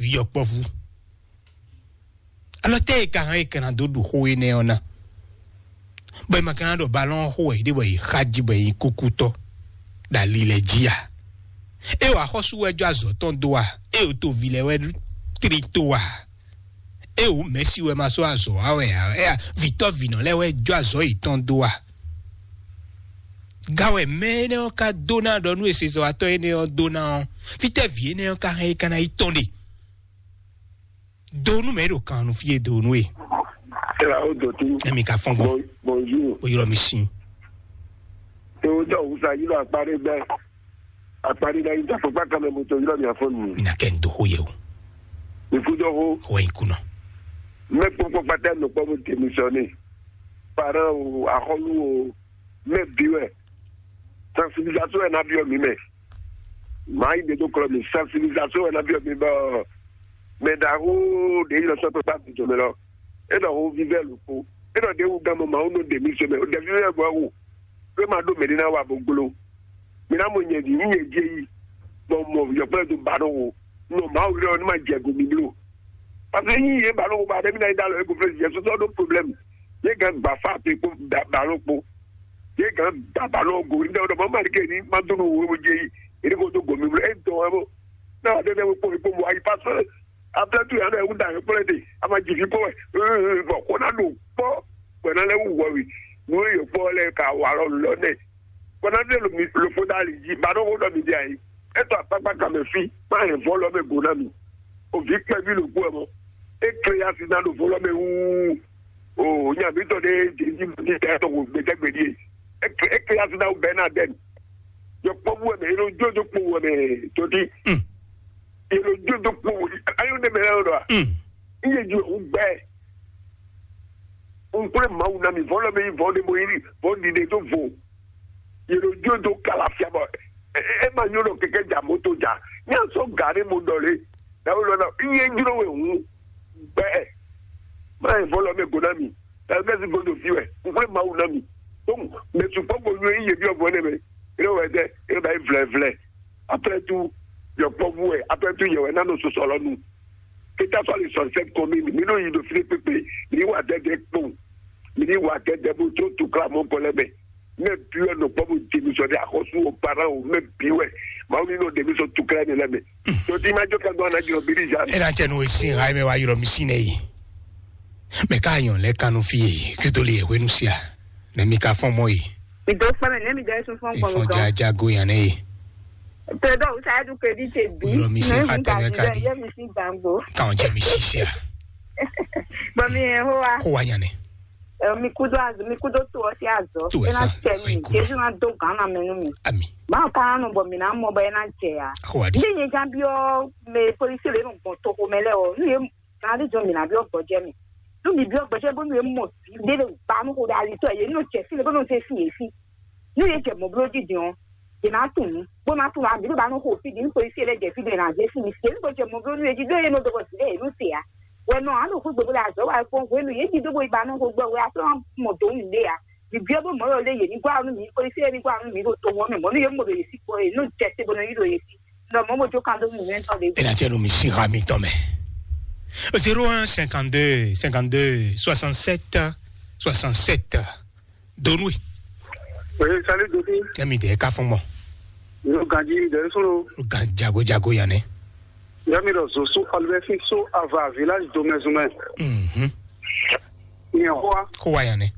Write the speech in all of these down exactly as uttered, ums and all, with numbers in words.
vǐ yɔkpɔ́vú. Alɔ tɛ́ e ka hɛn e ka ná dó ɖu xó énɛ́ ɔ́ ná? Bɔ è ma ka ná ɖɔ balɔ́n ɔ́ xo wɛ yě ɖe bɔ yě xa jí bɔ yě nyí kúkútɔ́ ɖo ali lɛ́ɛ jí a? É wɔ axɔ́sú wɛ jɔ azɔ̌ tɔn dó a? É wɔ toví lɛ́ɛ wɛ tlí tó a? É wɔ mɛ̌si wɛ ma sɔ́ azɔ̌ wa wɛ a? É a vǐtɔ́ vǐnɔ lɛ́ɛ wɛ jɔ azɔ̌ yětɔn dó a? Ga wɛ mɛ énɛ́ ɔ́ ka dó ná ɖɔ nú esezɔ́watɔ́ énɛ́ ɔ́ dó ná ɔ́, fítɛ́ vǐ énɛ́ ɔ́ ka hɛn é ka ná yi tɔn ɖe? Do nú mɛ ɖo kan nu fí e do nú e. Tla o dɔtu. Emi ka fɔn gbɔ. Bon- Bonjour. O yɔrɔ mi sin. Tewotɔ wusa yi lɔ akpaɖe gbɛ. Akpaɖe na yi ta fɔkpa kan mɛ moto yɔrɔ mi afɔ nu. Mi na kɛ n do xo yɛ o. Ikú dɔ xo. Xo yin kunɔ. Mɛ kpɔkpɔ kpata nɔ kpɔ mo démissionné. Parents o, axɔlu o, mɛ bi wɛ. Sensibilisation wɛ na biɔ mi mɛ. Maa yi ɖe dó kplɔ́ mi, sensibilisation wɛ ná byɔ́ mi bɔ mɛ ɖaxó ɖě yi lɔ sɔ́ kpékpá gǔdo mɛ lɔ. É ɖɔ xó vívɛ́ lǒ kpó. É ɖɔ ɖě wú gán mɔ Mawu nɔ ɖe mì se mɛ. Ɖɛ̌ vívɛ́ bɔ wú. Pé ma ɖó mɛ̌ ɖé ná wa bó gbló. Mi ná mɔ nyɛ ɖi, nyí nyɛ jí yi. Bɔ mɔ yɔkpɛ́ dó ba nɔ wo. Nɔ Mawu lɔ ní ma jɛ go mi bló. Parce que nyí yě ba nɔ wo ba ɖé mi ná yi dá lɔ é go flé jɛ sɔsɔ ɖó problème. Yě gán gba fá pe kpó ba nɔ kpó. Yě gán da ba nɔ go ní dɛ wɔ dɔ mɔ ma ɖi ke ní ma dó nɔ wo wo jɛ yi. Yě ní ko dó go mi bló. É dɔn wɛ bó. Náà wà dé dé kpó mi kpó mo ayi pa sɔrɔ. Après tout yàrá yẹn wúdà yẹn kplɛ de a ma jì fi kpɔ wɛ. Bɔn kó ná ɖo kpɔ gbɛ ná lɛ wú wɔ wi. Nú yẹ kpɔ lɛ ka wà lɔ lɔ nɛ. Kó ná dé lòfó dá ali jí ba ɖó wó ɖɔ mi di ayi. Etɔ akpakpa kan mɛ fi má hɛn vɔ lɔ mɛ go ná mi. Òvi kpɛví lòkú ɛ mɔ. É kle ya si ná ɖo vɔ lɔ mɛ wúú. O nya mi tɔ ɖe jɛ ní mo ní kɛ tɔ ko gbɛdɛgbɛ ɖie. É kle ya si ná wú bɛ ná dɛn. Yɔ kpɔbu wɛ mɛ yɛ ló jó dó kpo wɛ mɛ todi. Yɛ ló jó dó kpo ayɔ ne mɛ lɛ lɔ. Iye ju wú gbɛ. Nkplé Mawu ná mi vɔlɔ mi vɔ ɖe mo yi vɔ ɖiɖe dó vo. Yɛ ló jó dó kala fia bɔ ɛ ma nyɔ ɖɔ kɛkɛ dza moto dza. Nya sɔ ga ɖe mo ɖɔ le. Dawu lɔ na iye jlo we hu gbɛ. Ma yi vɔlɔ mi go na mi. Dawu gɛsi godo fi wɛ. Nkplé Mawu ná mi. Tom mɛ sukpɔ ko nyɔ iye bi ɔvɔ ne mɛ. Ere wɛ dɛ ere ba yi vlɛ vlɛ. Après tout yɔ kpɔvu wɛ. Après tout yɛ wɛ na nɔ sɔsɔ lɔ nu. Keta sɔ ali sɔn sɛ kɔmi mi no yi do fi pépé. Mi wa dɛdɛ kpɔn. Mi ni wa dɛdɛ bo tso tukla mɔ kɔ lɛ mɛ. Mɛ bi wɛ nɔ kpɔ bo di mi sɔ de axɔsu o para o mɛ bi wɛ. Mawu ni nɔ de mi sɔ tukla ne lɛ mɛ. Tɔti ma jɔ ka gbɔ na jɔ biri ja. E na cɛ nu esi ha mɛ wa yɔrɔ mi si ne yi. Mɛ ka yɔn lɛ kanu fi ye kritoli ye hwenu sia. Mɛ mi ka fɔn mɔ yi. Mi do kpɛ mɛ ne mi jɛ sun fɔn gbɔn. Ifɔn jaja go yan ne yi. Tɛ dɔ wusa edu kedi te bi. Yɔrɔ mi si ha tɛmɛ ka di. Yɛ mi si gbangbo. Kan jɛ mi si sia. Bɔn mi yɛ ho wa. Ko wa yan ne. Ɛ, mi kudo azɔ mi kudo to ɔsi azɔ. To ena ɛsa, tɛ mi ayi kuma. Jesu na do gan na mɛ nu mi. Ami. Ba ka nu bɔ mi na mɔ bɔ ena jɛ ya. Ko wa di. Ndi nye jan bi ɔ me polisi le nu gbɔn to ko mɛ lɛ ɔ nu ye na di jɔ mi na bi ɔ gbɔjɛ mi. Nu mi bi ɔ gbɔjɛ bo nu ye mɔ bi de le ba nu ko da ali tɔ ye nu jɛ fi le bo nu se fi ye fi. Nu ye jɛ mɔ blo di di ɔ. Ye na tun nu bo na tun abi do ba nu ko fi di nu polisi le jɛ fi de na jɛ fi mi fi ye nu ko jɛ mɔ blo nu ye di do ye nu do ko si de ye nu se ya. Wɛ nɔ alo xwé gbogbo le azɔ wa kpɔn hwenu ye di do bo yi ba nu ko gbɔ wɛ a tɔ mɔ do nu de ya. Bibiɔ bó mɔ̌ lɔ lé yě ní gbá nú mǐ, xweyísí yě ní gbá nú mǐ ɖo to wɔn mɛ mɔ̌ nú yě mɔ ɖo yě sí kpɔ é nú jɛ te bó nɔ yí ɖo yě sí. Nɔ mɔ̌ bó jó kan dó nú mǐ mɛ tɔn ɖě. Ena tiɛ nu mi si ha mi tɔn mɛ. Zéro un cinquante-deux cinquante-deux soixante-sept soixante-sept. Donui. Oui, salut Doki. Tɛmi de ka fɔn mɔ. Yo ganji de solo. Gan jago jago yanɛ. Yami ɖɔ zosu alubɛsi so ava village domɛzumɛ. Mhm. Nyɛ hoa. Ko wa yanɛ.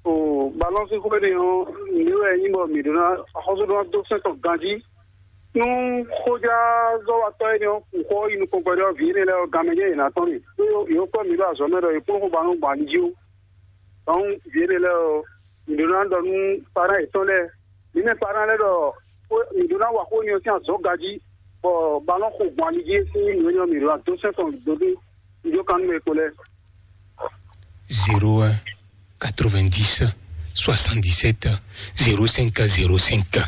O balɔnsi ko ne ɔ mi wɛ nyi bɔ mi ɖo na xɔso ɖo do sɛn tɔn ganji. Nu xɔja zɔwatɔ ye ne ɔ kun xɔ yi nukɔn gbɛdɔ vi ne lɛ ɔ gamɛ jɛ yina tɔn ni. Yo yo kɔ mi ɖo azɔ mɛ ɖɔ ye kpɔn xɔ ba nu gbali ji o. Donc vi ne lɛ ɔ mi ɖo na ɖɔ nu para yetɔn lɛ. Mi mɛ para lɛ ɖɔ mi ɖo na wa xɔ nyɔ sin azɔ gaji. Bɔ balɔn xɔ gbali ji sin mi nyɔ mi ɖo na do sɛn tɔn do do. Ijo kan nu e ko lɛ. Zéro un quatre-vingt-dix soixante-dix-sept zéro cinq zéro cinq.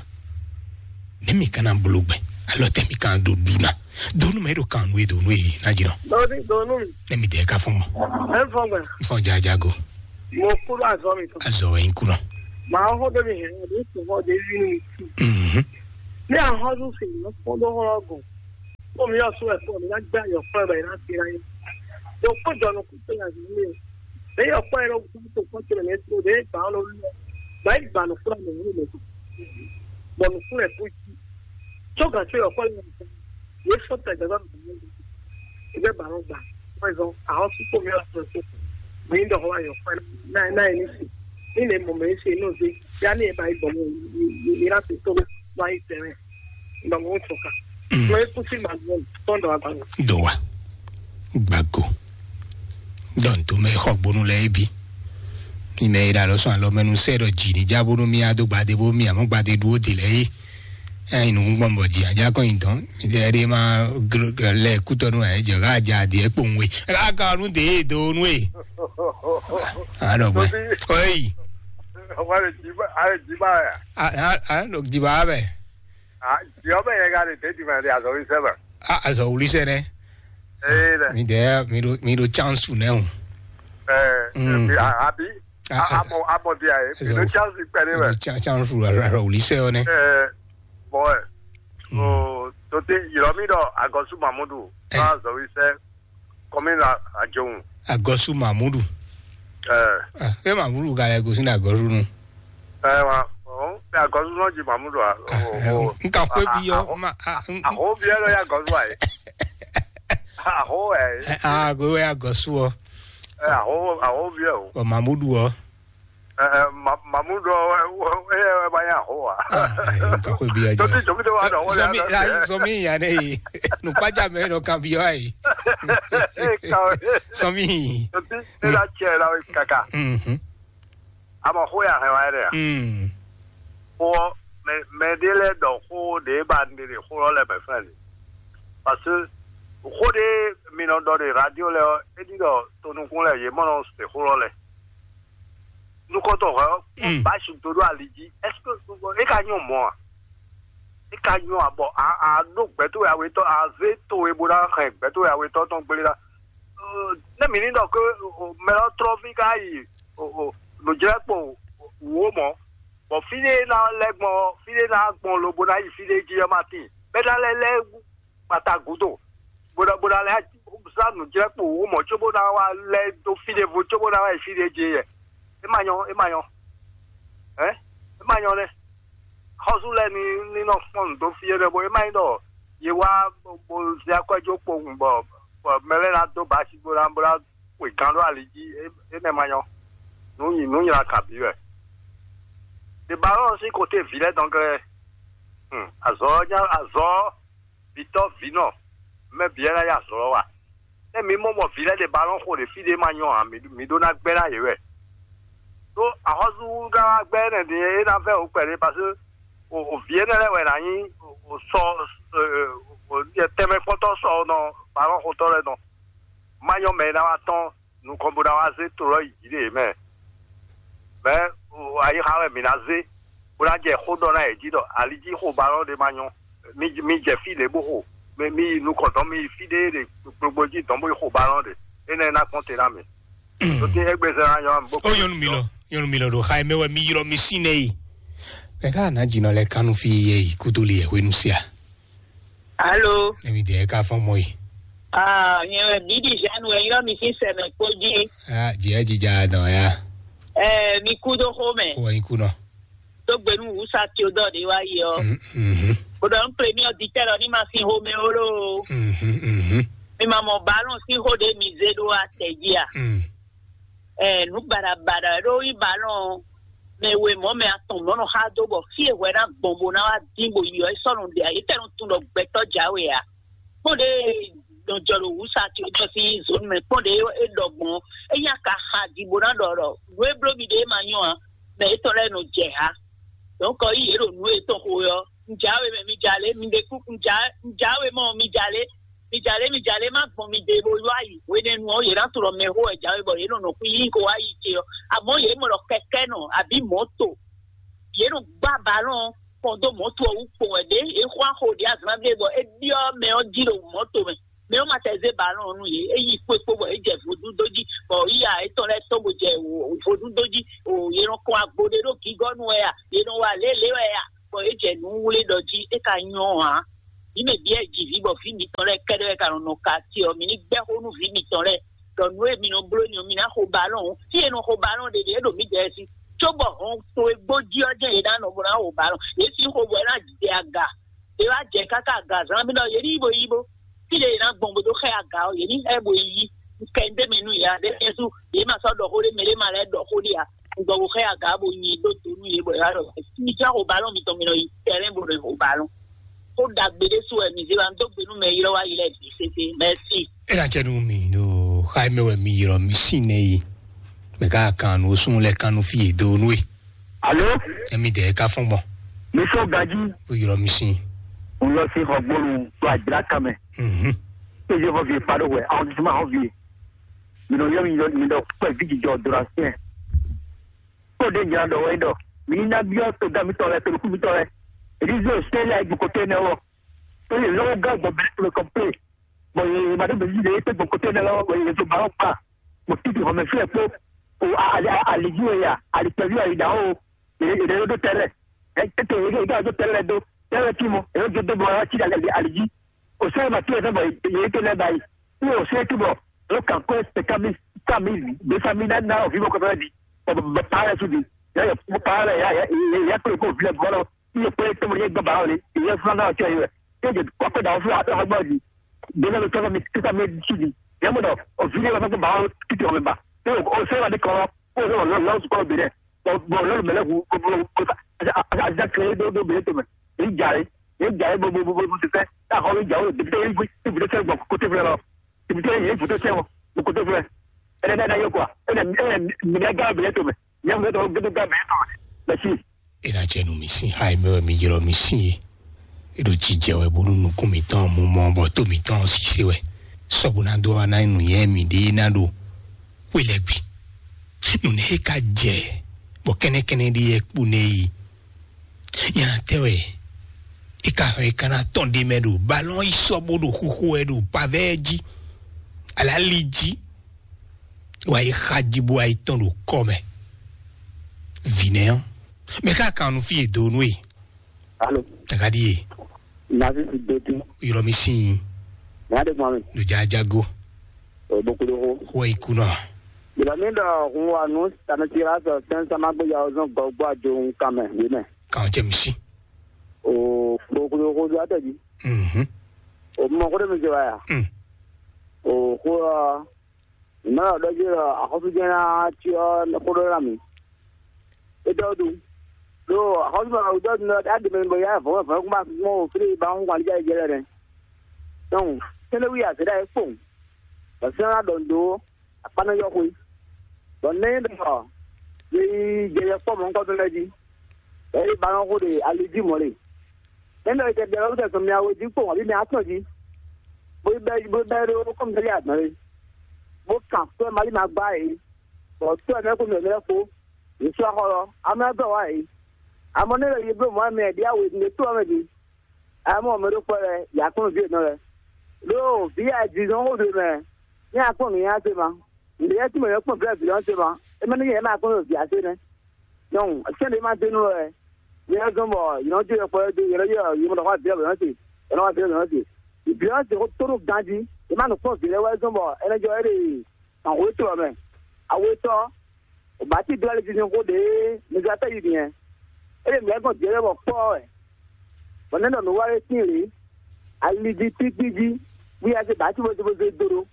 Ne mi kana bolo gbɛ alɔ tɛ mi kan do duna donu mɛ do kan nue donu e na dzi nɔ. Donu donu. Ne mi de ka fɔn mɔ. E fɔn gbɛ. Fɔn jajago. Mo kúrò azɔ mi tɔ. Azɔ wɛ n kunɔ. Maa hɔ de mi hɛn o de tun hɔ de vi mi. Mhm. Ne ahɔ dun fi mi fɔn do hɔ gɔn. Kpɔ́n mi ɔ́ sú wɛ kpɔ́n mi ná gbé ayɔ̀kpɔ́ wɛ bɔ è ná se ná nyí. Ɖo kpɔ́n jɔ nukún tó nya zǐn mi. Ɖě yɔ̀kpɔ́ yɛ ɖo kú tó kpɔ́n tó lɛ tó ɖě gbǎ ɔ́ lɔ lɔ. Gbǎ yí gbǎ nukún lɛ mɛ. Bɔ nukún lɛ kú jí. Tó gǎn tó yɔ̀kpɔ́ lɛ mɛ. Yě fó tɛ gbɛgbɛ mɛ. Ì bɛ bǎ nɔ gbà. Wọ́n zɔn àwọn súpò mi ɔ́ tó tó. Mi ń dɔ̀họ́ ayɔ̀kpɔ́ náà náà ní sí. Ní lè mọ̀ mẹ́ sí inú sí. Yá ní ẹ̀ bá yí gbọ̀n mọ́. Yìí láti tó lọ ayé tẹ̀rẹ̀. Ìgbà mọ́ sọ̀ka. Lọ ikú sí màá gbọ́n tọ́ndọ̀ àgbà. Dɔwa. Gbago. Dɔn to mɛ xɔ gbonu lɛ ebi. Ni mɛ ira lɔ sɔn alɔ mɛnu sɛ dɔ dzi ni dza bonu mi ado gbade bo mi amɔ gbade duwo de lɛ yi. Ɛ inu gbɔn bɔ dzi adza kɔn yi dɔn. Mi de ɛdi ma lɛ kutɔ nu ɛ jɛ ka dza di ɛ kpɔn we. Ka ka nu de do nu e. Alɔ gbɛ. Oyi. Wale dzi ba, ale dzi ba ya. A a a no dzi ba bɛ. Ah, Jehovah yɛ ka ɖe tɛ́ntin mɛ ɖe azɔ̌ wi sɛ mɛ. A azɔ wuli sɛ nɛ. Ee dɛ. Mi dɛ mi ɖo mi ɖo chance nɛ o. Ɛɛ Mm. Abi. Ah, ah. Amɔ amɔ di ayi. Mi ɖo chance kpɛ ɖe mɛ. Mi ɖo chance azɔ wuli sɛ o nɛ. Ɛɛ bɔn ɛ. O tote yɔrɔ mi ɖɔ agɔsu mamudu. Ɛ. Azɔ̌ wi sɛ kɔmi la ajɔhun. Agɔsu mamudu. Ɛɛ. Ah, e mamudu ka lɛ gosi na agɔsu nu. Ɛɛ wa ɔn mɛ agɔsu nɔ ji mamudu a. N ka xwé bi yɔ ma. Aho bi ɛlɔ ya agɔsu ayi. Aho ɛ. Ah, go ya agɔsu ɔ. Ɛ aho aho bi ɛ o. Ɔ mamudu ɔ. Ɛ ɛ mamudu ɔ ɛ ɛ ba ya aho wa. N ka xwé bi yɔ jɔ. Tobi tobi de wa dɔ wọlé. Sɔmi sɔmi ya ne ye. Nukpaja mɛ nɔ kan bi yɔ ayi. Sɔmi. Tobi ne la cɛ la kaka. Mhm. Ama xó ya hɛn wá ɖe a? Mm. Xó ɔ́, mɛ mɛ ɖé lɛ́ɛ ɖɔ xó ɖě ba un ɖe ɖe xó ɔ́ lɛ́ɛ mɛ fɛ́n ni. Parce que xó ɖé mi nɔ ɖɔ ɖe radio lɛ́ɛ ɔ́, é ɖi ɖɔ tonukún lɛ́ɛ yě mɔ nɔ se xó ɔ́ lɛ́ɛ. Nukɔntɔn hwɛ ɔ́, Mm. Basi do ɖo ali jí. Est-ce que é ka nyɔ mɔ̌ a? É ka nyɔ a bɔ a a ɖó gbɛ̌ towe awetɔ́ a zé towe bó ná hɛn gbɛ̌ towe awetɔ́ tɔn gblé ná. Ne mǐ ní ɖɔ ké mɛ ɔ́ trɔ́ví ká yi nǔjlɛ́kpo wǒ mɔ̌, bɔ fí ɖé ná lɛ́ gbɔn ɔ́, fí ɖé ná gbɔn lobo ná yi fí ɖé jí ɔ́ ma tíin. Bɛ́ ná lɛ́ lɛ́ kpata gǔdo, bó ná bó ná lɛ́ zán nǔjlɛ́kpo wǒ mɔ̌ cóbó ná wá lɛ́ dó fí ɖěvo cóbó ná wá yi fí ɖé jí yɛ. É ma nyɔ́, é ma nyɔ́. Hɛ̌n? É ma nyɔ́ nɛ́. Xɔ́sú lɛ́ɛ ní ní nɔ kpɔ́n nǔ dó fí énɛ́ bó é má nyí ɖɔ yě wá bó zé akwɛ́ jó kpowun bɔ bɔ mɛ lɛ́ɛ ná dó basi bó ná bó ná xwe gán ɖó ali jí. Énɛ́ ma nyɔ́. Nǔ nyi nǔ nyla kabǐ wɛ. Ɖe ba ɔ́ sín kote vǐ lɛ́ɛ dɔn glɛ́. Azɔ̌ ɔ́ nyá azɔ̌ ɔ́ vǐtɔ́ vǐnɔ mɛ bǐ wɛ ná yi azɔ̌ ɔ́ wa. Ée mi mɔ mɔ vǐ lɛ́ɛ ɖe balɔ́n xo ɖe fí ɖé ma nyɔ ǎ, mi mi ɖó ná gbɛ́ ná yě wɛ. Ɖó axɔ́súɖagbɛ́ énɛ́ din é ná vɛ́ wǔ kpɛɖé, parce que o vǐ énɛ́ lɛ́ɛ wɛ ná nyí o sɔ tɛnmɛ kpɔ́ntɔ́ sɔ nɔ balɔ́n xotɔ́ lɛ́ɛ nɔ. Má nyɔ́ mɛ e ná wá tɔ́n nukɔn bó ná wá zé to lɔ yi jǐ ɖe yě mɛ. Mɛ ayixa wɛ mǐ ná zé bó ná jɛ xó ɖɔ ná yě jí ɖɔ ali jí xo balɔ́n ɖé ma nyɔ́. Mi mi jɛ fí lě bó xo. Mi mi yi nukɔn dɔn mi yi fí ɖé ɖe gbogbo jí dɔn bó yi xo balɔ́n ɖe. Énɛ́ ná kpɔ́n te ná mi. Tó tín égbé zɛ ná nyɔ́ mi bó. Ó nyɔnu mi lɔ, nyɔnu mi lɔ ɖo xa mɛ wɛ mi ylɔ mi sín nɛ yi. Mɛ ká ná jǐnɔ lɛ kánú fí yɛ yi kútó li yɛ hwenu sia. Alo. Emi dɛ ka fɔn mɔ yi. Ah, nyɛ wɛ Bidi Jean wɛ ylɔ mi sín sɛmɛ kpó jí. Ah, jɛ jija dɔn ya. Eh, mi kú dó xó mɛ. Wɔ yi kú nɔ. Tó gbenu wusa tí o dɔ de wá yi ɔ. Mhm. Kódɔ n premier auditeur ɔ ní ma fi xomɛ o lo. Mhm, mhm. Mi ma mɔ ballon sín xó ɖé mi zé ɖó atɛ jí a. Mm. Ɛ nu baɖabaɖa ɖó yi ballon mɛ we mɔ mɛ atɔn mɔ nɔ xa dó bɔ fí e hwɛ ná gbɔn bó ná wá dín bó yi ɔ é sɔ́ nɔ ɖe a é tɛnu tun ɖɔ gbɛtɔ́ jáwe a. Kpɔ́n ɖe nɔ jɔ ɖo wusa tí o jɔ sín zone mɛ kpɔ́n ɖe é ɖɔ gbɔn é nya ka xa di bó ná ɖɔ ɖɔ nǔ e bló mi ɖe é ma nyɔ a mɛ étɔn lɛ́ɛ nɔ jɛ ha. Donc yi yě ɖo nǔ etɔn xo ɔ́, un jǎwe mɛ mi jalě, mi ɖe kú un jǎ un jǎwe mɔ mi jalě, mi jalě mi jalě má gbɔn mi ɖe bó wá yi hwenɛ́nu ɔ́, yě ná tlɔ mɛ xó wɛ jǎwe bɔ yě nɔ nɔ kú yí ko wá yi ce ɔ́. Amɔ̌ yě mɔ ɖɔ kɛkɛ́ nɔ abǐ mɔ̌to, yě nɔ gbá balɔn kpɔn dó mɔ̌to ɔ́ wú kpowun wɛ ɖě é xwá xo ɖě azǎn ɖé bɔ é byɔ́ mɛ ɔ́ jí ɖo mɔ̌to mɛ. Mɛ ɔ́ ma tɛ zé balɔn ɔ́ nú yě, é yi kpókpó bɔ é jɛ vodún dó jí, bɔ yíya étɔn lɛ́ɛ tɔ́n bó jɛ vodún dó jí. O yě nɔ kɔn agbo ɖé ɖó gígɔ́nu wɛ a, yě nɔ wa lělé wɛ a, bɔ é jɛ nǔ wlé ɖɔ jí é ka nyɔ́ ǎ. Mǐ mɛ bǐ wɛ ji vǐ bɔ vǐ mitɔn lɛ́ɛ kɛ́ɖɛ́ wɛ ka nɔ nɔ ka ce ɔ́, mǐ ní gbɛ́ xó nú vǐ mitɔn lɛ́ɛ ɖɔ nǔ e mi nɔ bló ni ɔ́, mi ná xo balɔn ó. Fí e nɔ xo balɔn ɖe ɖe é ɖo mǐdɛɛ sí, cóbɔ hɔn to e gbó jí ɔ́ jɛ́n yě ná nɔ bó ná xo balɔn. Yě sín xo bɔ é ná jɛ aga. Yě wá jɛ káká agazán mì ɖɔ yě ní yi bo yi bo. Fí ɖé yě ná gbɔn bó dó xɛ aga ɔ́, yě ní xɛ bo yi. Kɛ ndé mɛ nú yě ǎ, ɖé Jezu, yě ma sɔ́ ɖɔ xó ɖé mɛ ɖé ma lɛ́ ɖɔ xó ɖé ǎ. Un gbɔ bo xɛ aga bo nyi dó do nú yě bɔ yě wá ɖɔ mi jɔ xo balɔn mitɔn mi nɔ yi tɛlɛn bo nɔ xo balɔn. Xó ɖagbe ɖé su wɛ mi zé wa un dó gbe nú mɛ ylɔ́ wá yi lɛ́ɛ bǐ sésé. Mɛsi. É ná cɛ nú mi ɖo xa e mɛ wɛ mi ylɔ́ mi sín nɛ́ yi. Mɛ ká kan nǔ ó sún lɛ́ kan nú fí e dó nú e. Alo, Emi dɛ ka fɔn gbɔn. Mi sɔ gaji. O yɔrɔ mi sin. N lɔ sí xɔgbónu tó àjìlá kan mɛ. Mhm. Péjé xɔvi e pa ɖó hwɛ, àwọn tuntun máa xɔvi e. Mi nɔ yɔ mi yɔ mi ɖɔ kpɛ vi jijɔ dora sɛn. Kó de jira ɖɔ wɛ ɖɔ. Mi ní ná biɔ to da mi tɔ lɛ, to lukú mi tɔ lɛ. Èdí zé o sɛ lɛ gboko tɛ nɛ wɔ. Tó yẹ lɔwọ́ gán gbɔ bɛlɛ tó lè kɔmplé. Bɔn yɛ ma ɖo bɛnji ɖe yɛ tɛ gbɔ kote nɛ lɔ bɔn yɛ to ba ɔkpa. Bɔn titi xɔmɛ fia kpo o ali ali ji wɛ ya ali kpɛvi ali da o. Yɛ yɛ ɖo tɛlɛ. Ɛ tɛ yɛ yɛ do tɛlɛ do tɛlɛ ti mɔ yɛ do do bɔ ya ti ali ali ji. O sɛ ma ti yɛ sɛ bɔ yɛ tɛ lɛ ba yi. Ni o sɛ ti bɔ o kan ko sɛ kami kami de sami na na o fi bɔ kɔfɛ di. Bɔ bɔ pa yɛ su di. Ya yɛ pa yɛ ya ya ya klo ko fi lɛ bɔ lɔ. Iye kpé tó mo yẹ gbọ́ bàrà òní, iye fúnra náà ọ̀tí ọ̀yẹ́ rẹ̀. Yóò jẹ kọ́kọ́ dà fún àtọ́ ọgbọ́n di. Bẹ́ẹ̀ ló tọ́jú mi títà mi sùn di. Yẹ́n mo dọ̀, òfin yẹn lọ́sọ̀kọ́ bàrà títí ọ̀mẹ́ bà. Tó o sẹ́wà ní kọ́, kó o sọ̀rọ̀ lọ́wọ́ sùkọ́ òbí rẹ̀. Bọ̀ lọ́lù mẹ́lẹ́ kú, kó bó kó sa, àti àti kéré dó dó bèrè tó mẹ́. Èyí jà rẹ̀, èyí jà rẹ̀ bó bó bó bó ti fẹ́. Táà kọ́ mi jà ó, dèbí tẹ́ yín gbé, dèbí tẹ́ sẹ́wọ̀n kó tẹ́ fẹ́ lọ. Dèbí tẹ́ yín fòtó sẹ́wọ̀n, mo kó tẹ́ fẹ́. Ẹ̀rẹ́ dáadáa yóò kọ́ à, ẹ̀rẹ́ mi ẹ̀ mi ẹ̀ gá bèrè tó mẹ́. Yẹ́n mo tọ́ gbé tó gá bèrè tó mẹ́. Mẹ́sì. Ena jɛ nu mi sin ha e mɛ wɛ mi ylɔ mi sin e. Eɖo jijɛ wɛ bónú nukún mitɔn mumɔ bɔ tó mitɔn sise wɛ. Sɔbu ná dó wa ná nu yɛ mi ɖe ná ɖo xwe lɛ gbi. Nune e ka jɛ bɔ kɛnɛkɛnɛ ɖe yɛ kpo nɛ yi. Nyana tɛ wɛ e ka hɛn e ka ná tɔn ɖe mɛ ɖo balɔn yi sɔ bó ɖo xoxo wɛ ɖo pavɛ ji. Alali ji. Wa yi xa ji bó wa yi tɔn ɖo kɔ mɛ. Vǐ nɛ ɔ́, mɛ ká kan nu fí e do nú e. Alo, Tagadi e, Nazi si do ti. Ylɔ mi sin. Nya de gbɔn mi. Ɖo jajago. O bokolo ho. Xɔ yi kunɔ. Bila mi dɔ hun wa nu tanu ti la sɔ sɛn sama gbe ya ozɔn gɔgbɔ ajo hun kan mɛ wi mɛ. Kan jɛ mi si. O bokolo ho do atɛ ji. Mhm. O mɔ ko de mi se wa ya. Mm. O ko Nɔ ɖɔ jí ɖɔ axɔ́sújɛ́n ná cyɔ xó ɖó ná mǐ. É dɔ́ ɖu. Ɖó axɔ́sú ma wǔ dɔ́ ɖu nɔ ɖá ɖe mɛ bɔ yá vɔ̌ vɔ̌ kún bá gbɔn o fí ba hún wali jɛ jɛ lɛ nɛ. Donc sɛnɛ wi azɛ ɖa é kpɔn. Bɔ sɛnɛ ná ɖɔ ndo akpanɛ yɔ xwe. Bɔ nɛ ɖɔ ye yi jɛ yɛ kpɔ mɔ ŋkɔ tó lɛ jí. Ɛ yi ba nɔ xó ɖe ali jí mɔ le. Nɛ ɖɔ yi tɛ ɖɛ lɔ tɛ sɔn mia wo jí kpɔn abi mia tɔn jí. Bo yi bɛ bo yi bɛ ɖo kɔmi tɛ li adɔn le. Bó kan tó ɛ mali ma gbá yě, bɔ tó ɛ mɛ kó mɛ mɛ kó, yě sú axɔ lɔ, amɛ dɔ wá yě. Amɔ ne le yi bló mɔ mɛ ɖi awe ne tó ɔmɛ ɖi. Amɔ mɛ ɖo kpɔ lɛ, yà kpɔn vi nɔ lɛ. Ɖó vi a di zɔn xó do mɛ, ní a kpɔn nǔ yá se ma. Ǹdè yɛ tí mɛ yɛ kpɔn vi a vi lɔn se ma. E mɛ ní yɛ ma kpɔn vi a se nɛ. Donc sɛn ɖe ma dé nú wɛ. Yɛ zɔn bɔ yɛ nɔ jó yɛ kpɔ yɛ dó yɛ nɔ yɔ yɛ mɔ ɖɔ xɔ a vi a bɛ nɔ se. Yɛ nɔ wá vi a bɛ nɔ se. Bi ɔ́ se xó tó ɖó ganjí. E ma nɔ kpɔn vi lɛ wɛ zɔn bɔ ɛ nɔ jɔ ɛ ɖe Ahwetɔ mɛ, awetɔ, o ba ti dó ali didi xó ɖe mɛ zɔ atɛ yi diɛ. Ele mɛ gɔn diɛ bɔ kpɔ wɛ. Bɔ ne nɔ nu wa le sin le. Ali di ti ti di. Wi a se ba ti bo bo do do.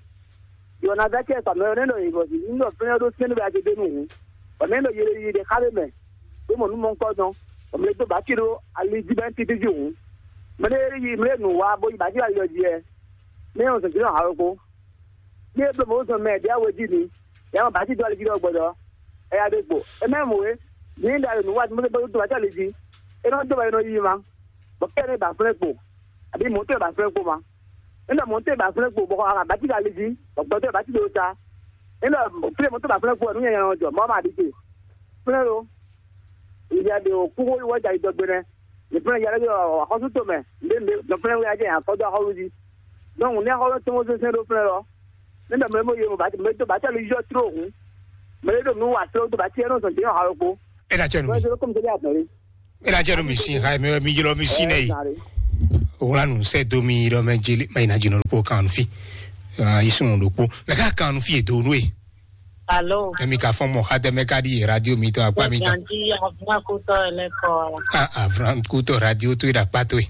Yɔ na da kɛ sa mɛ ne nɔ yi bɔ si. Ni nɔ fɛn do sɛn ba ti de nu hu. Bɔ ne nɔ yele yi de xa le mɛ. Do mo nu mɔ nkɔ dɔn. Bɔ mɛ do ba ti do ali di bɛ ti ti di hu. Mɛ ne yi mɛ nu wa bo yi ba ti ali yɔ diɛ. Ne yɔ sɛ ti nɔ ha ko. Ní eblo mɔ̌ zɔn mɛ ɖě awe jí ni, yǎ mɔ bǎ cí dó ali jí ɖɔ gbɔdɔ, ɛ ya ɖe gbo. É mɛ mɔ é, ní ɖa nǔ wa mɔ tó bá cí ali jí, é nɔ dó bɔ é nɔ yí ma, bɔ kɛ ní ba flɛ́ kpo, àbí mɔ̌ tó ba flɛ́ kpo ma. É nɔ mɔ̌ tó ba flɛ́ kpo, bɔ a bá cí ali jí, bɔ gbɔdɔ bá cí ɖo ta. É nɔ flɛ́ mɔ̌ tó ba flɛ́ kpo, nú nyanya nɔ jɔ, mɔ̌ ma ɖi te. Flɛ́ lo, ìyá ɖe ò kúkú wá jà ìdɔgbe nɛ. Nìfúnlẹ̀ yàrá yọ àkọ́sù tó mẹ́, ndé ndé nìfúnlẹ̀ wíyá jẹ́ àkọ́dọ́ àkọ́lù jí. Donc ní àkọ́lù tó wọ́n sẹ́sẹ́ ló fúnlẹ̀ lọ. Nígbà mẹ́rin mo yẹ mo bá ti mẹ́rin tó bá tẹ̀lé yọ tó òun. Mẹ́rin tó nù wà tó tó bá tiẹ̀ náà sọ̀tì yàn àrò kó. Ena cɛ nu Wọ́n mi. Ṣe ló kọ́ mi sẹ́lẹ̀ àtọ̀rí. Ena cɛ nu mi sin ha mi mi yɔrɔ mi sin nɛ yi. Ẹ sáré. Wlá nǔ sɛ dó mi ɖɔ mɛ jeli mɛ yina jino ɖokpó kan nú fi. Ah, yi sunu ɖokpó. Mɛ ka kan nú fi e do nú e. Alo. Emi ka fɔn mɔ xatɛ mɛ ka ɖi radio mi tɔn akpa mi tɔn. Ganji avuma kutɔ ele kɔ. Ah, avran kutɔ radio to e ɖa kpa to e.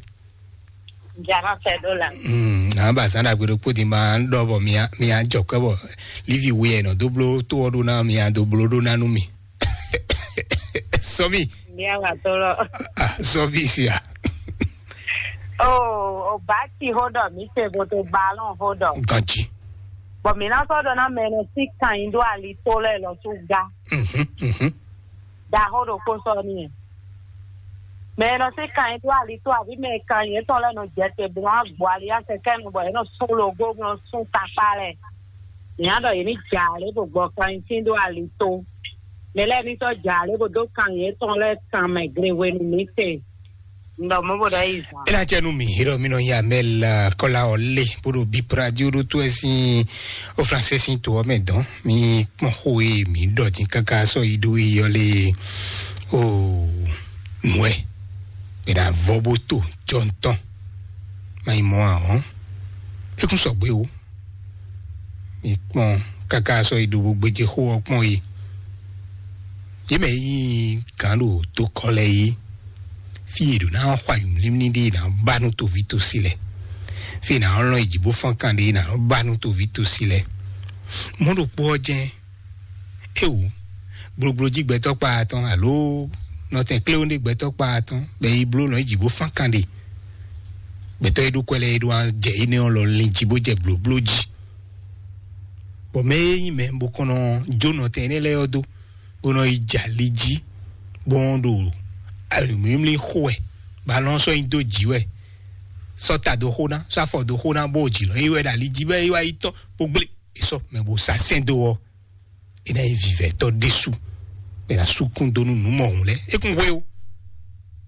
Jara fɛ do la. Hmm, na ba zan ɖagbe ɖokpó di ma ɖɔ bɔ mia mia jɔ kɛ bɔ livi wi e nɔ do blo to ɔ ɖo na mia do blo ɖo na nú mi. Sɔmi. Mia wa to lɔ. Ah, sɔmi sia. O, o ba ti ho dɔ mi se bo to balɔn ho dɔ. Ganji. Bɔn mi na sɔ dɔ na mɛ nɔ si kan yin do ali to lɛ lɔ tu ga. Mhm, mhm. Da ho ɖo kpo sɔ ni. Mɛ nɔ si kan yin do ali to abi mɛ kan yin etɔn lɛ nɔ jɛ te bo na gbɔ ali ya kɛkɛ nu bɔ e nɔ sun logo bo nɔ sun takpa lɛ. Nya ɖɔ yě ní jǎ lé bó gbɔ kanyitín ɖó ali tó. Mɛ lɛ́ɛ ní sɔ́ jǎ lé bó dó kan yětɔn lɛ́ɛ kan mɛ gle hwenu mǐtɛn. Un ɖɔ mɔ̌ bó ɖɔ yí zǎn. E na cɛ nu mi, e ɖɔ mi nɔ nyi amɛl kɔla ɔ lé bó ɖo bip radio ɖó tó ɛ sín o français sín to ɔ mɛ dɔn. Mi kpɔn xó e mi ɖɔ dín káká sɔ yi ɖó yi ɔ lé o nǔɛ. E na vɔ bó to jɔ ntɔn. Ma yi mɔ ahɔn. E kún sɔgbe o. Mi kpɔn káká sɔ́ yi ɖo bó gbéjé xó ɔ́ kpɔ́n yi. Yě mɛ yí gǎn ɖo dokɔ lɛ́ɛ yi. Fí e ɖo ná xɔ ayǐmlímlí ɖé ná ba nú toví tosi lɛ. Fí e ná lɔn yi jǐ bó fɔ́n kan ɖé ná ba nú toví tosi lɛ. Mɔ̌ ɖokpó ɔ́ jɛ́n. Éwú, gblogblo jí gbɛtɔ́ kpa atɔn alo nɔtɛn kléwún ɖé gbɛtɔ́ kpa atɔn bɛ yi bló nɔ yi jǐ bó fán kan ɖé. Gbɛtɔ́ e ɖó kwɛ lɛ́ɛ e ɖó jɛ énɛ́ ɔ́ lɔ lin jí bó jɛ blǒbló jí. Bɔ mɛ e nyí mɛ bó kɔn nɔ jó nɔtɛn énɛ́ lɛ́ɛ ɔ́ dó, bó nɔ yi jɛ ali jí, bó nɔ ɖo mǐmlí xo wɛ, bó alɔ sɔ́ nyi dó jǐ wɛ, sɔ́ ta dó xó ná, sɔ́ afɔ dó xó ná, bó jǐ lɔ nyi wɛ ɖo ali jí bɔ é wá yi tɔ́n bó gblé. É sɔ́ mɛ bó sá sɛn dó ɔ́, é ná nyí vivɛtɔ́ ɖésú, bɔ é ná sú kún dó nú nǔ mɔ̌hun lɛ́ɛ. É kún hwe ó.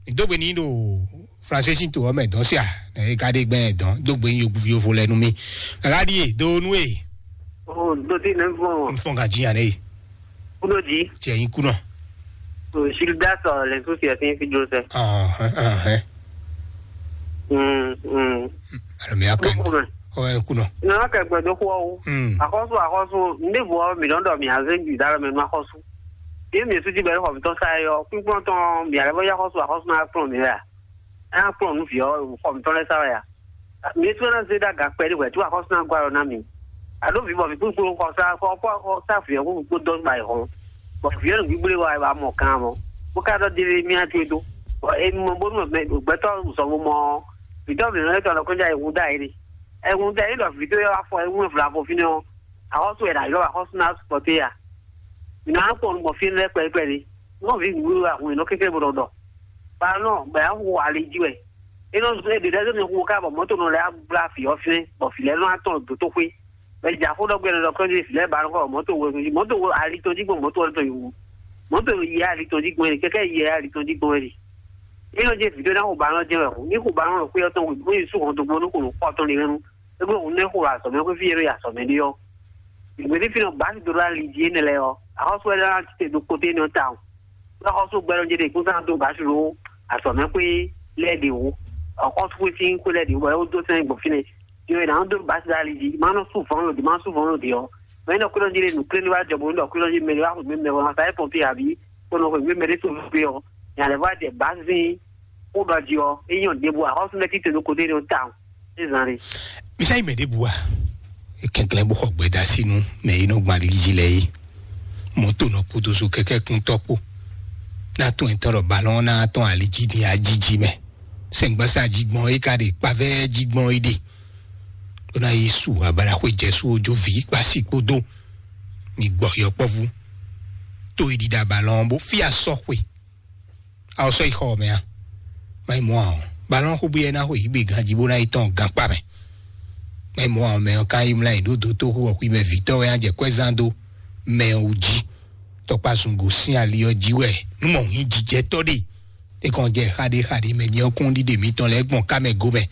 Mǐ dó gbe n'i ɖo Fransésí to ɔ́ mɛ dɔn sia, é ka ɖe gbɛn dɔn dó gbe n'i yovo lɛ nú mì. Kaka ɖíe dó nú e. O dodi ne fɔ. N fɔ ka jí yan ne. Kudo di. Tiɛ yin kunɔ. O Gildas ɔ lɛ su tiɛ sin fi dro sɛ. Ɔhɛn, ɔhɛn. Mm, mm. Alo mi akan. Ɔ ɛ kunɔ. Nana kɛ gbɛ do xɔ o. Mm. Akɔsu akɔsu ndevo mi dɔn dɔ mi aze ju da mɛ nu akɔsu. Ye mi su ti bɛ xɔ mi tɔn sa yɔ kpikpɔn tɔn mi ale bɔ ya akɔsu akɔsu na kplɔn mi ya. Ɛ kplɔn nu fi ɔ xɔ mi tɔn lɛ sa ya. Mi tu na ze da ga kpɛ de wɛ tu akɔsu na gwa na mi. Alo vi bɔ mi kpikpɔn kɔ sa kɔ kɔ sa fi ɔ kó dɔn ba yi xɔ. Bɔ fi ɔ nu gbigble wa ba mɔ kan mɔ. Bó ka dɔ délé mi atu do. Bɔ emi mɔ bónú gbɛtɔ zɔn mo mɔ. Vitɔ mi nɔ tɔn kɔnja ewu da yi. Ewu da yi dɔ vitɔ yɔ afɔ ewu fla ko fini o. Axɔsu yɛ da yɔ axɔsu na sɔte ya. Mi na kpɔ nu mɔ fi lɛ kpɛ kpɛ ni. Nɔ vi wu ahun nɔ kékeré bo dɔ. Ba nɔ bɛ ya hu ali ji wɛ. E nɔ zɔ e de dɛ mi hu ka bɔ mɔto nɔ lɛ agbla fi ɔ fɛn bɔ fi lɛ nɔ atɔ doto xwe. Bɛ dza xó dɔ gbɛ nɔ dɔ kɔnji fi lɛ ba nɔ kɔ mɔto wo mɔto wo ali tɔn ji gbɔn mɔto ɔ tɔn yi wu. Mɔto yi ali tɔn ji gbɔn kɛkɛ yi ali tɔn ji gbɔn. Nínú jẹ́ ìfìdó náà kò bá rán jẹ́ ẹ̀kú ní kò bá rán òkú ọtọ́ wò ní sùn ọ̀dọ́ gbọ́n ní kò ní kọ́ ọtọ́ ní rẹ́nu. Ẹgbẹ́ òun náà kò rà sọ̀mẹ́ pé fíyẹ́rọ yà sọ̀mẹ́ ní ọ́. Ìgbé ní fínà bá ti dòdò àlè jí ẹni lẹ ọ́. Àkọ́sọ́ ẹ̀ dáná ti tẹ̀ dó kóté ní ọ́ ta ọ́. Lọ́kọ́sọ́ gbẹ́rọ jẹ́ dé kó sáà tó bá ṣòro àsọ̀mẹ́ pé lẹ́ẹ̀dẹ̀ wò. Ọ̀kọ́ tó pé sí kó lẹ́ẹ̀dẹ̀ wò ẹ̀ ó dó sẹ́yìn gbọ̀n fínẹ̀. Yọ ẹ̀ náà dó bá ti dá àlè jí. Má nọ sùn fọ́n lòdì, má sùn fọ́n lòdì ọ́. Mɛ nɔ kúrò jí lé nù kúrò ní wá jọ̀bọ̀ ní dɔ kúrò jí mɛ ní wá kò mí mɛ wọn sáyé pɔ̀npé àbí kó nɔ kò mí mɛ ní tó gbé ọ́. Yàrá wá jẹ bá sí kó dɔ jí ọ́. Eyín ò débò àkọ́sùn lẹ́kì tèmi kò dé ní o ta o. Ní zan rí. Misa yi mɛ ɖěbǔ a? Kɛnklɛn bó xɔ gbɛda sínú mɛ yi nɔ gbɔn aliliji lɛ yi. Mɔto nɔ kpodo so kɛkɛ kún tɔkpo. Na tún ɛtɔ ɖɔ balɔn na tɔn aliji di ajiji mɛ. Sɛngbasa jigbɔn yi ka ɖe kpavɛ jigbɔn yi ɖe. Ó ná yi su abalaxwe jɛsu ojo vi kpasi kpodo. Mi gbɔ yɔkpɔvu. To yi ɖiɖa balɔn bó fia sɔxwe. Awo sɔ yi xɔ mɛ a? Mayi mɔ awɔ. Balɔn xo bóyá ná xo yi gbé ganji bó ná yi tɔn gankpa mɛ. Mayi mɔ awɔ mɛ ɔ ka yi mla yi ɖó dó tó xo ɔkui mɛ vitɔ wɛ á jɛ kwɛ zan dó mɛ ɔ jí. Tɔkpa zungo sín ali ɔ jí wɛ nú mɔ hín jijɛ tɔ ɖe. E kàn jɛ xaɖe xaɖe mɛ jɛ ɔkún ɖiɖe mitɔn lɛ gbɔn ká mɛ go mɛ.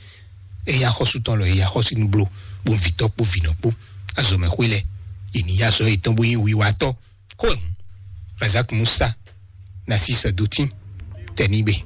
Eya xɔsu tɔn lɔ eya xɔsu nu blo. Bó vitɔ kpó vinɔ kpó azɔmɛ xwé lɛ. Yě ní ya sɔ yetɔn bó yín wiwa tɔ. Xó ɛ hùn. Razak Musa. Nasi sɛ dotin. Tɛ nígbe.